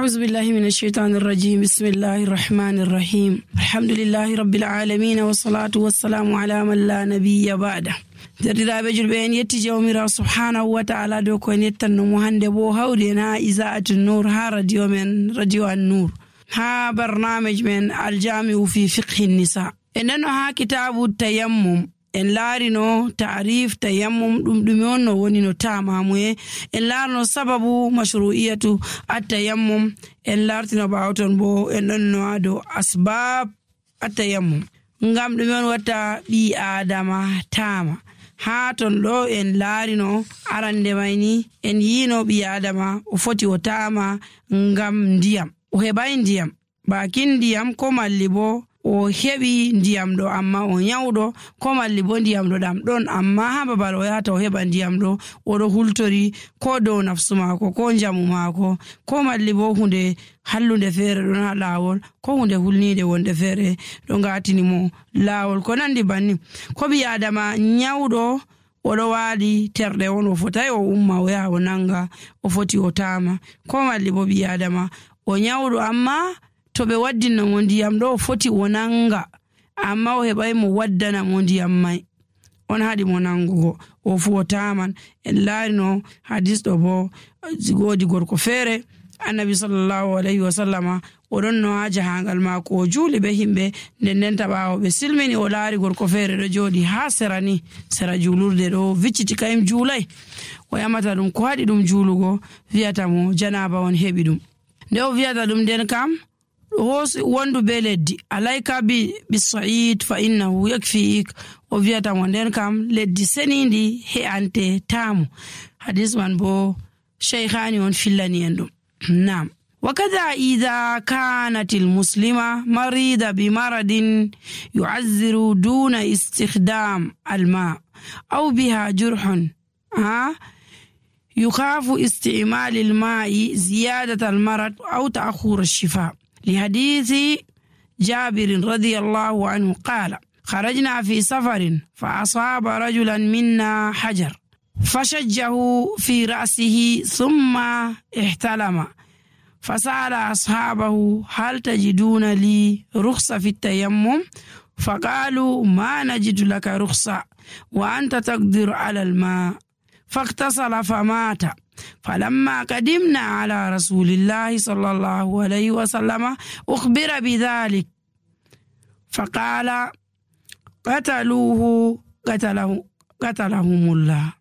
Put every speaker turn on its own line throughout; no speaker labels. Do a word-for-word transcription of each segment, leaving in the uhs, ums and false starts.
أعوذ بالله من الشيطان الرجيم بسم الله الرحمن الرحيم الحمد لله رب العالمين والصلاة والسلام على من لا نبي بعده. Derdiraaɓe julɓe en yetti jawmirawo subhanahu wa ta'ala dow ko en yettanno mo hande bo hawri en ha Iza'atu Nur ha radio men radio An-Nur ha barnamij men aljami'u fi fiqhi nisa. En nano ha kitabu tayammum en laarino ta'rif tayammum ɗum ɗume on no woni no tamamuye en laarno sababu mashru'iyatu at-tayammum en laartino ɓawton bo en ɗon no ha dow asbab at-tayammum ngam ɗume on watta ɓi adama tama. Ha ton ɗo en laarino arande mayni en yino ɓi adama o foti o tama ngam ndiyam o heɓai ndiyam bakin ndiyam ko malli bo o heɓi ndiyam ɗo amma o nyawɗo ko malli bo ndiyam ɗo ɗam ɗon amma ha babal o yahata o heɓa ndiyam ɗo oɗo hultori ko dow nafsu maako ko njamu maako ko malli bo hunde hallunde feere ɗon ha laawol ko hunde hulnide wonde feere ɗo ngatini mo laawol ko nandi banni. Ko ɓi adama nyawɗo oɗo waali terɗe on o fotai o umma o yaha o nanga o foti o tama ko malli bo ɓi adama o nyawɗo amma to ɓe waddinno mo ndiyam ɗo o foti o nanga amma o heɓai mo waddana mo ndiyam mai on haɗi mo nangugo o fu o taman. En laarino hadis ɗo bo woodi gorko feere annabi sallallahu alayhi wa sallama oɗon no ha jahangal maako o juuli be himɓe nden ndenta ɓaawo ɓe silmini o laari gorko feere ɗo jooɗi ha sera ni sera juulurde ɗo vicciti kayim juulai o yamata ɗum ko haɗi ɗum juulugo wiyata mo janaba on heɓi ɗum nde o wiyata ɗum nden kam hosi wondu be leddi alayka bi bisa'id fa innahu yakfiik o wiyata mo nden kam leddi senindi he'ante tamu. Hadis man bo shaykhani on fillani en ɗum. Naam. وكذا إذا كانت المسلمة مريضة بمرض يعذر دون استخدام الماء أو بها جرح ها يخاف استعمال الماء زيادة المرض أو تأخر الشفاء. لحديث جابر رضي الله عنه قال خرجنا في سفر فأصاب رجلا منا حجر فشجه في رأسه ثم احتلم فسأل أصحابه هل تجدون لي رخصة في التيمم فقالوا ما نجد لك رخصة وأنت تقدر على الماء فاغتسل فمات. فلما قدمنا على رسول الله صلى الله عليه وسلم أخبر بذلك فقال قتلوه قتله قتلهم الله.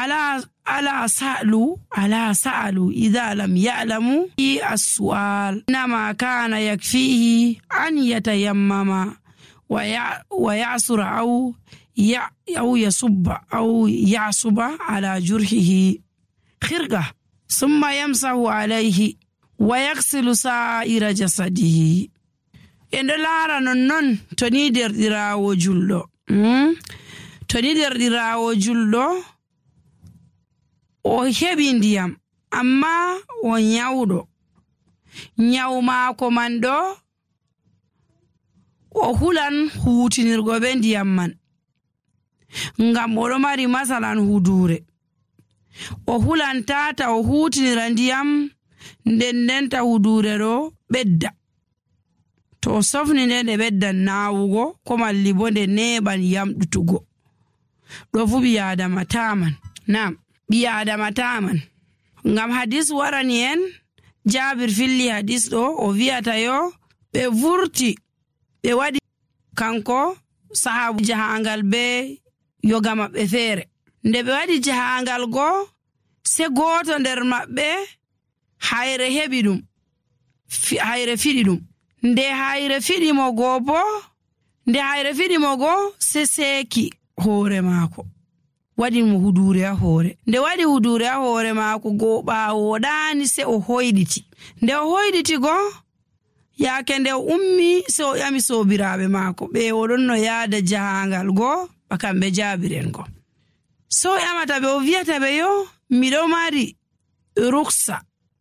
ألا ألا سألوا ألا سألوا إذا لم يعلموا السؤال إنما كان يكفيه أن يتيمم ويعصر أو أو يصب أو يعصب على جرحه خرقة ثم يمسح عليه ويغسل سائر جسده. إن لارا نون توني دردراو جلو توني دردراو جلو o heɓi ndiyam amma o nyawɗo nyawu maako man ɗo o hulan huutinirgo be ndiyam man ngam oɗo mari masalan hudure o hulan tata o huutinira ndiyam nden ndenta hudure ɗo ɓedda to o sofni nde nde ɓeddan naawugo ko malli bo nde neɓan yamɗutugo ɗo fu ɓi adama taman. Nam ɓi adama taman ngam hadis warani en Jabir filli hadis ɗo o wiyata yo ɓe vurti ɓe waɗi kanko sahabu jahangal be yoga maɓɓe feere nde ɓe waɗi jahangal go se goto nder maɓɓe hayre heɓi ɗum hayre fiɗi ɗum nde hayre fiɗi mo go bo nde hayre fiɗi mo go se seeki hoore maako waɗi mo hudure ha hoore nde waɗi hudure ha hoore maako go ɓaawo ɗaani se o hoyɗiti nde o hoyɗiti go yaake nde o ummi se o ƴami soobiraaɓe maako ɓe oɗon no yaada jahangal go ba kamɓe jaabiren go so o ƴamata ɓe o wiyata ɓe yo miɗo mari ruksa